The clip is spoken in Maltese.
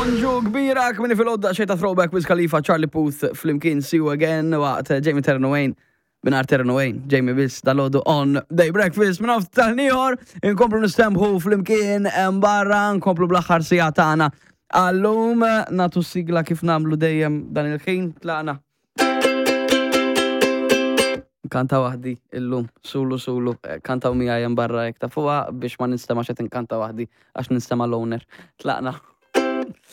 Bonġu kbira, kmini fil-għodda xejta throwback Wiz Khalifa, Charlie Puth, flimkien See You Again, waqt Jamie Terno Wayne, binar Terno Wayne, Jamie biss dal-għodu on Day Breakfast, minn off tal-nieħor, inkomplu nistembħu flimkien barra, nkomplu bl-aħħar sija tagħna. Għallum natu sigla kif namlu dejjem dan il-ħin, tlaqna. Kanta waħdi illum, sulu sulu, eh, kantaw miegħi hemm barra jekk tafuha biex ma ninstema' xed inkanta waħdi għax ninstema' l-owner. Tlaqna.